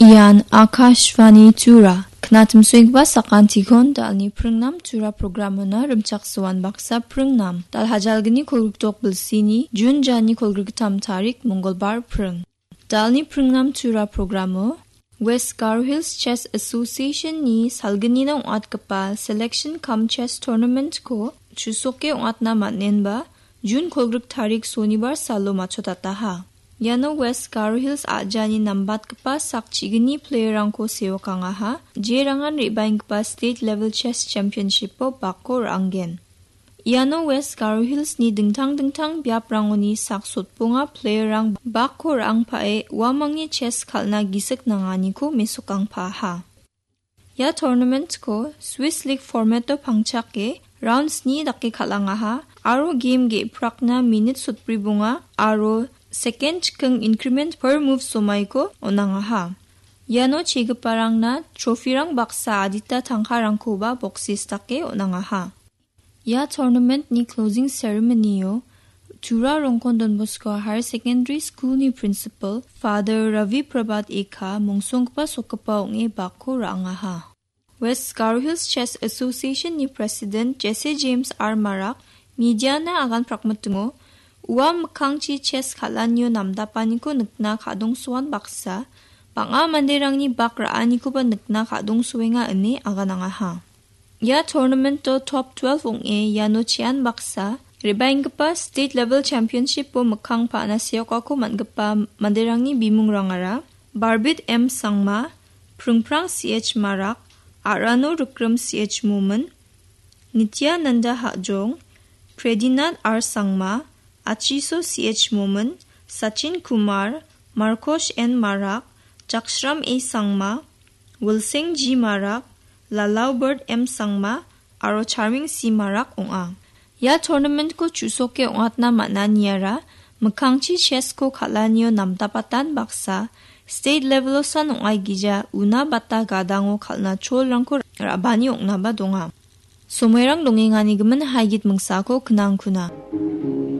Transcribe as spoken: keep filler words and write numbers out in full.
Ian Akashvani Tura. Knatimsoenggipa sakantikon dalni pringnam Tura programona rimchaksoan baksa pringnam. Dal hajalgni kolgrikdok bilsini Jun jani kolgriktam tarik Mongolbar pring. Dalni pringnam Tura programo West Garo Hills Chess Association-ni salgnina ong·atgipa selection cum chess tournament-ko chusoke ong·atna man·enba Jun kolgrik tarik Sonibar salo matchotataha. Iano West Garo Hills a·jani nambatgipa sak chigni player-rangko seokangaha, jerangan re·baenggipa state level chess championship-o bakko ra·angen. Iano West Garo Hills-ni dingtang dingtang biaprangoni sak sotbonga player-rang bakko ra·angpae uamangni chess kal·na gisik nanganiko mesokangpaaha. Ia tournament-ko Swiss League format-o pangchake round sni dake kal·angaha aro game ge·prakna minit sotbribonga aro second chiking increment per move somaiko on·angaha. Iano chegiparangna trophy-rang baksa adita tangkarangkoba boksis dake on·angaha. Ia tournament-ni closing ceremony-o Tura Rongkon Don Bosco Higher Secondary School-ni principal Father Ravi Prabhat Ekha mongsonggipa sokgipa ong·e bakko ra·angaha. West Garo Hills Chess Association-ni president Jesse James R Marak media-na agan prakmitingo, ua mikkangchi chess kal·anio namdapaniko nikna ka·dongsoan baksa, bang·a manderangni bak ra·anikoba nikna ka·dongsoenga ine aganangaha. Ia tournament-o top twelve ong·e iano chean baksa, re·baenggipa state level championship-o mikkang pa·na seokako man·gipa manderangni bimungrangara Barbit M Sangma, Pringprang C H Marak, Arano Rikrim C H Momin, Nityananda Hajong, Predinat R Sangma, Achiso C H Momin, Sachin Kumar, Markosh N Marak, Jakshram A Sangma, Wilsing G Marak, Lalaubert M Sangma aro Charming C Marak ong·a. Ia tournament-ko chusoke ong·atna man·aniara mikkangchi chess-ko kal·anio namdapatan baksa state level-osan ong·aigija una bata gadango kal·na cholrangko ra·bani ong·naba donga. Somoirang dongenganigimin haigit mingsako knangkuna.